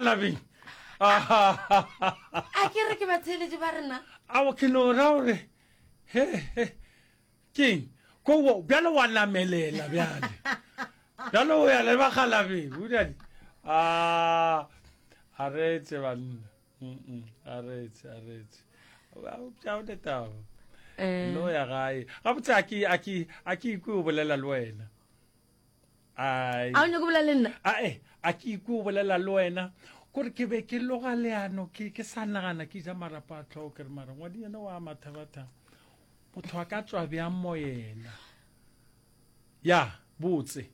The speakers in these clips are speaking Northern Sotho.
bakgalabeng. A ke re ke batheeletši ba rena. Ao ke no ra gore he he keng ko bjale wa namelela bjale bjale o ya le bakgalabeng o dadi a a reetse banna a reetse a reetse a o ne taba eh. no ya gae gabotse a ke a ke a ke ikwe o bolela le wena Ai. A o nyako bolela le nna? Ae, a ke ikwe o bolela le wena. Kore ke be ke loga leano, ke, ke sa nagana ke ja marapo a tlhogo, ke re mara ngwadi yena wa mathabatha. Motho a ka tswa bjang mo yena? Ya, botse.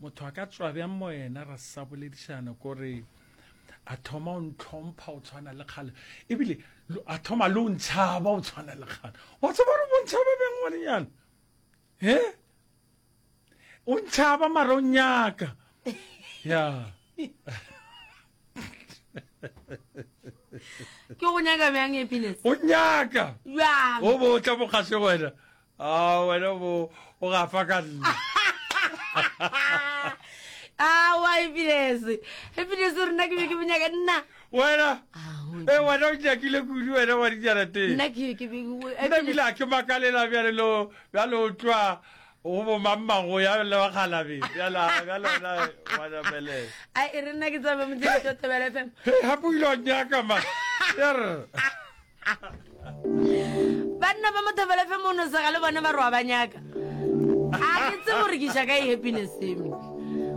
Motho a ka tswa bjang mo yena ra sa boledišana kore a thoma o ntlhompha o tshwana le kgale ebile a thoma le o ntšhaba o tshwana le kgale wa tseba gore o ntšhaba bjang ngwanenyana he o ntšhaba mara o nyaka ya ke go nyaka bjang happiness o nyaka bjang o bo tla bokgase wena a wena bo o gafa ka nna awa happiness happiness rena ke be ke bonyaka nna wena e wena o nyakile kudu wena wa dijarateng nna ke ke be nna ebile a ke makalela bjale lo bjale o tloa go bo mammago ya le bakgalabe bjale bjale wena wa namelela ai e re nna ke tsabe motseng to Thobela FM Hei, gape o ile wa nyaka ma er banna ba mothobela FM o no sega le bone ba re wa ba nyaka a ke tsebe gore ke iša kae happiness eme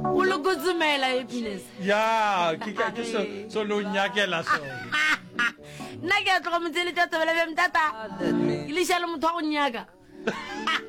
o le kotsomela happiness ya ke ka ke so so lo nyakela sone nna ke a tloga motseletša thobela FM tata ke leša le motho wa go nyaka.